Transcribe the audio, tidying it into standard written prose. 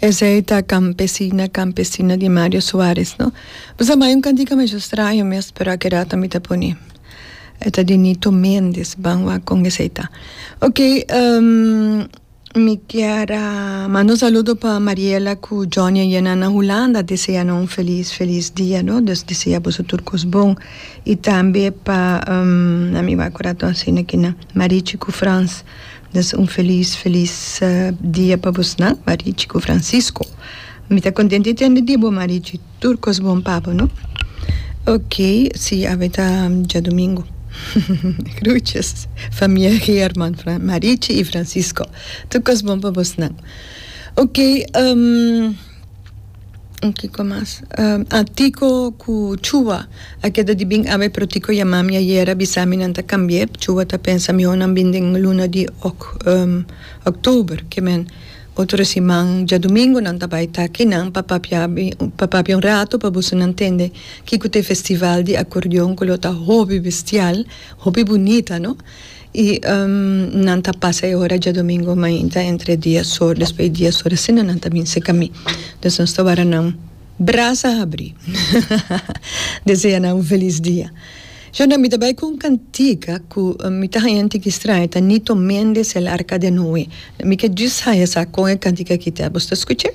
Esei ta Campesina, Campesina di Mario Suarez, no? Bo sa bai un cantica masha straño mes, pero a keda mi ta pone. E ta di Nito Mendez, ban wak con esei ta. Ok, mi kier a manda un saludo pa Mariela cu Johnny a yena na Hulanda, desea nan un feliz, feliz dia, no? Dus desea boso tur cos bon. Y tambe pa, na mi wak ora ta asina kinan, Marichi cu Frans. Dus un felis felis dia pa bosnan Marichi ku Francisco. Mi ta kontento di tende di bo Marichi. Tur kos bon pa bo no. Ok si awe ta djadumingu. Groetjes famia Geerman Marichi i Francisco. Tur kos bon pa bosnan. Ok. Kiko mas? Ah, Tico ku Chua a keda di bin awe, pero Tico yama mi ayer a bisa mi nan ta kambi'é. Chua ta pensa mihó nan bin den luna di òktober, ke men otro siman djadumingu nan ta bai ta akinan pa papia pa papia un rato pa boso nan tende kiko ta e festival di akordeon ku lo ta hopi bestial, hopi bunita no. I nan ta pasa e ora djadomingo mainta entre dies or, despues di dies or asina nan ta bin seka mi. Dus nos ta wara nan brasa habrí. Desea nan un felis dia. Shonda, mi ta bai ku un kantika ku mi ta haña un tiki straño, ta Nito Mendez El Arca de Noe. Mi ke djis haña sa kon e kantika aki ta. Bo sta skuch'é?